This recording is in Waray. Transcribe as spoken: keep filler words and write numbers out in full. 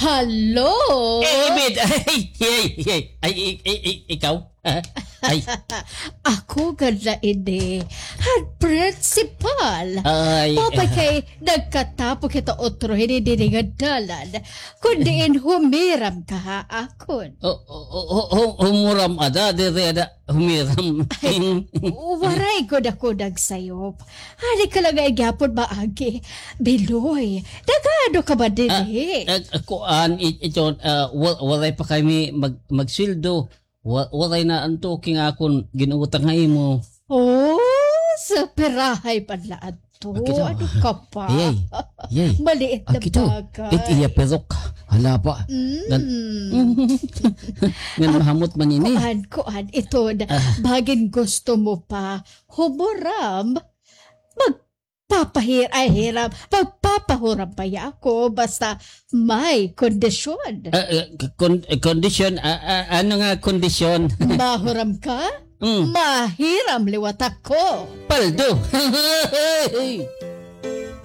Hello? Eh, Ibid, ay, ay, ay, ay, ay, ay, ay, ikaw? Ay. Ako gad la ini, han principal. Ay. Mao pa kay nagkatapo kita utro hini dinhi nga dalan. Kun diin humiram ka ha akon. O, o, o, o, humuram ada, diri ada, humiram. Ay, waray gud ako nagsayop. Adi ka la nga gihapon maagi. Biloy, nag-aano ka ba dinhi? Ah, ah, kuan, i-, ito, ah, wa-, waray pa kami mag-, magsweldo. Wa-, waray na anto king akon gin-utang ha imo. Oh, sa pirahay pa la adto. Akito. Ano ka pa? Yay. Yay. Maliit na bagay. It iya perok. Hala pa. Mm. Ngan mahamot man ini. Kuan, kuan, ito na. Ah. Bangin gusto mo pa humuram, magpapahir-, ay, hiram. Magpapahuram pa ya ako. Basta may kondisyon. Ah, ah, kon-, kondisyon? Ah, ah, ano nga kondisyon? Mahuram ka? Mm. Mahiram liwat ako. Paldo.